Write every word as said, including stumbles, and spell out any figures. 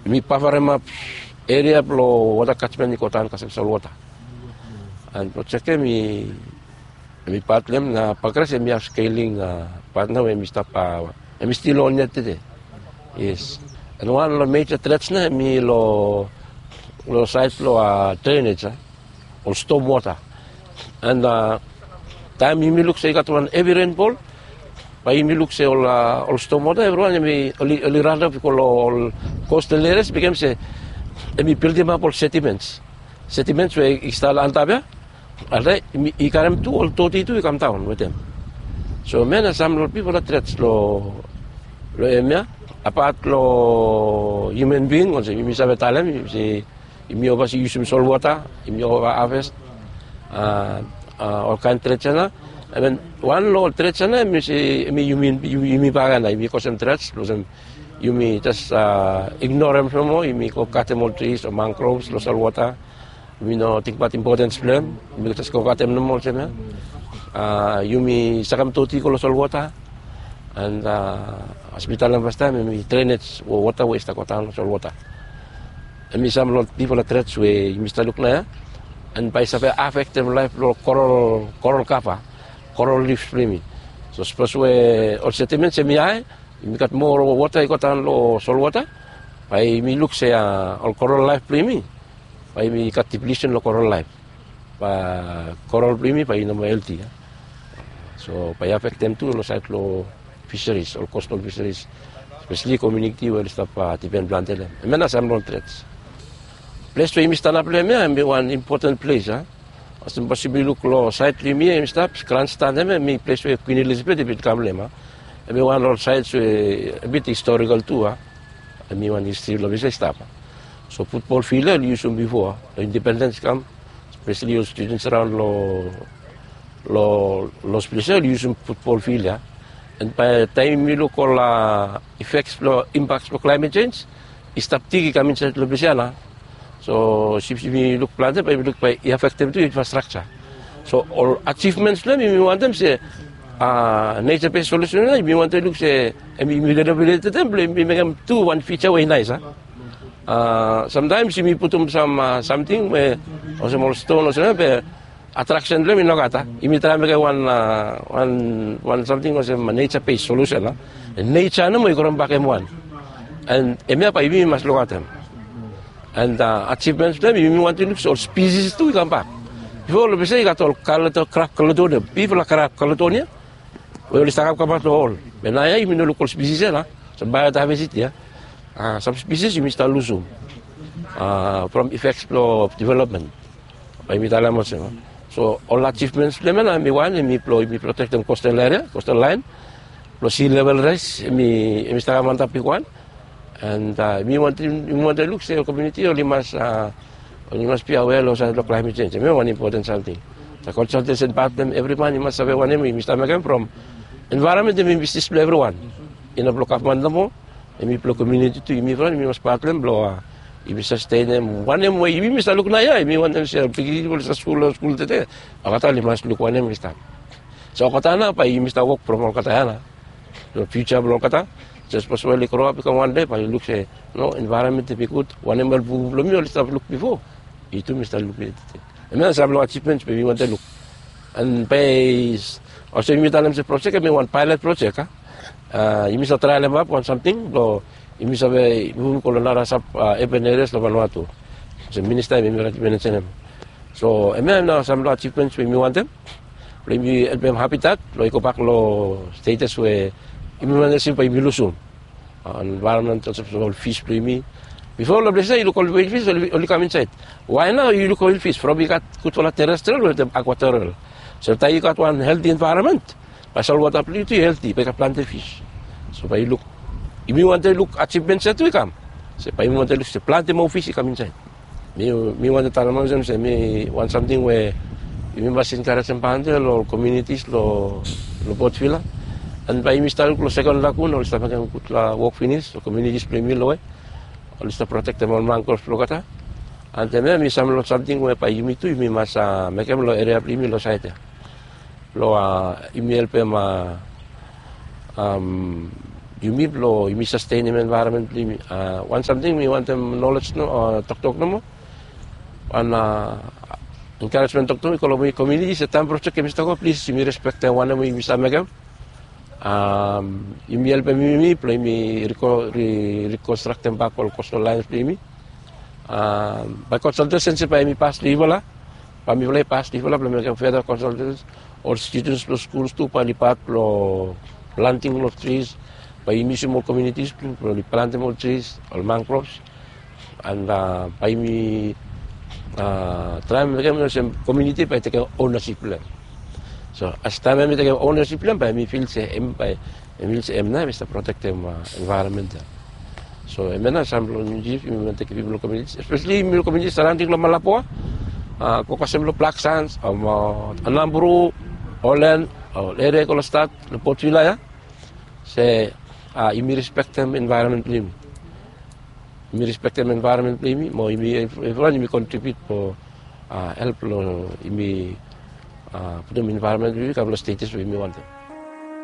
Mi pavaremap eria blong wota kachment i go daon kasem solwota. An projek ya mi mi pat long em na Pakras em i have scaling pat nao em i stap em i stil on yet tede. Yes. An wan long meja trets na em i long long sait blong drainage a ol stom wota. An taem yumi luk se i gat wan hevi renfol, bae yumi luk se ol ol stom wota evriwan em i oli randap i go long ol kostal erias, bikem se em i bildimap ol sediments. Sediments we i stap long antap ya, alraet i karem tu ol doti tu i kamdaon wetem. So hemia na sam long bifala trets long hemia. Apat long hiuman bing olsem yumi save talem se yumi ova se yusum solwota, yumi ova haves, olkaen trets ya na. An wan long ol trets ya na em i se em i yumi bagen na yumi kosem trets olsem yumi jes ignorem nomo, yumi go katem ol tris o mangroves long solwota. Yumi no tingbaot impotens blong em, yumi jes go katem nomo olsem ya. Yumi sakem doti go long solwota. An as mi talem fastaem em i drenej wota we i stap go daon long solwota. Em i sam long bifala trets we yumi stap luk nao ya. An bae i save afektem laef blong korol, korol kava, korol lif blong yumi. So sapos we ol sediments em i hae, yumi gat moa wota i go daon long solwota, bae yumi luk se ol korol laef blong yumi bae yumi gat diplisen long korol laef. Bae korol blong yumi bae i no moa helti ya. So bae i afektem tu long sait long fiseris, ol kostal fiseris, speseli komiuniti we oli stap dipen plante long em. Hemia na sam long trets. Ples we yumi stanap long hemia em i wan impoten ples a. Olsem sapos yumi luk long sait blong yumi ya yumi stap, granstan hemia em i ples we Kwin Elizabeth i bin kam long hem a. Em i wan long ol sait we a bit historikal tu a. Em i wan histri long ples ya i stap a. So futbol fil ya oli yusum bifo a, long indipendens i kam, speseli ol studens araon long long long ples ya oli yusum futbol fil ya. An bae taem yumi luk ol ifeks blong impaks blong klaemet jenj, i stap dig i kam insaed long ples ya nao. So sapos yumi luk plante bae yumi luk bae i afektem tu infrastrakja. So ol ajivmens blong hem yumi wantem se neja bes solusen ya yumi wantem luk se em yumi renovetem blong yumi mekem tu wan fija we i naes a. Samtaems yumi putum sam samting we olsem ol ston olsem ya be atraksen blong hem i nogat a. Yumi traem mekem wan wan wan samting olsem neja bes solusen a. Neja nomo i grombak hem wan. An hemia bae yumi mas lukaotem. An ajivmens blong hem yumi wantem luk se ol spisis tu i kambak. Bifo long ples ya i gat ol krab kaledonia, bifala krab kaledonia we oli stap kamkam long ol. Be naoia yumi no luk ol spisis ya nao. Sam baeodaiversiti ya, sam spisis yumi stap lusum from ifeks blong developmen. Bae yumi talem olsem. So ol ajivmens blong hem ya nao em i wan em i blong yumi protektem kostal eria, kostal laen blong si level raes em i stap kam antap bigwan. An yumi wantem luk se ol komiuniti oli mas oli mas bia awea long sait long klaemet jenj. Hemia wan impoten samting. Sa konsaltesen patem evri man i mas save wanem yumi stap mekem from envaeronmen em i bisnis blong evriwan. I no blong gavman nomo, em i blong komiuniti tu. Yumi evriwan yumi mas patem blong yumi sastenem wanem we yumi stap luk naoia. Yumi wantem se ol pikinini we oli stap skul long skul tede, olgeta oli mas luk wanem i stap. So olgeta nao bae yumi stap wok from olgeta ya nao. Long fiuja blong olgeta, sapos we oli groap i kam wan dei bae oli luk se no, envaeronmen em i gud. Wanem ol bubu blong mi oli stap luk bifo, i tu mi stap luk ya tede. Hemia na sam long ajivmens we mi wantem luk. An bae olsem yumi talem se projek em i wan paelet projek a. Yumi save traelemap wan samting blong yumi save muvum go long nara sab aben erias long Vanuatu. Olsem minista yumi gat i mensenem. So hemia nao sam long ajivmens we yumi wantem blong yumi helpem Habitat blong i gobak long stetas we yumi wantem se bae yumi lusum. Envaeronmen olsem ol fis blong yumi. Bifo long ples ya yu luk ol wil fis oli kam insaed. Wae nao yu luk ol wil fis from i gat gudfala terestrial wetem akwatorial. So taem yu gat wan helti envaeronmen, bae solwota blong yu tu i helti, bae i gat plante fis. So bae yu luk, yumi wantem luk ajivmens ya tu i kam. Se bae yumi wantem luk se plante moa fis i kam insaed. Mi wantem talem olsem se mi wan samting we yumi mas enkarejem plante long ol komiunitis long Port Vila. An bae yumi stap luk long Sekon Lagun oli stap mekem gudfala wok finis, ol komiunitis blong yumi long we oli stap protektem ol mangrove blong olgeta. An hemia em i sam long samting we bae yumi tu yumi mas mekem long eria blong yumi long saed ya. Blong yumi helpem yumi blo yumi sastenem envaeronmen blo yumi. Wan samting mi wantem nolej no toktok nomo, wan enkaresmen toktok mi go long yumi komuniti se taem projek hemi stap go, plis yumi respektem wanem we yumi save mekem. Yumi helpem yumi blo yumi rikonstraktem bak ol kostal laens blo yumi. Bae konsaltesen se bae yumi pas long yufala, bae mifala i pas long yufala blo mekem feda konsaltesen. Ol studens blo skuls tu bae oli pat blo planting long tris, bae yumi yusum ol komunitis blo oli plantem ol tris, ol mangroves. And bae yumi traem mekem olsem komuniti bae i tekem ownasip blo hem. So as taem hem i tekem ownasip blo hem, bae yumi fil se hem bae yumi fil se hem nao hem i stap protektem envaeronmen ya. So hemia nao sam blo yumi, yumi wantem tekem pipol long komuniti, espeseli yumi long komuniti saraonding long Malapua, go kasem long Blak Sans, Anambru, Olen, ol eria i go long stat long Port Vila ya. Se yumi respektem envaeronmen blo yumi. Yumi respektem envaeronmen blo yumi mo yumi evriwan yumi kontribiut blo help long yumi putum envaeronmen blo yumi kam long status we yumi wantem.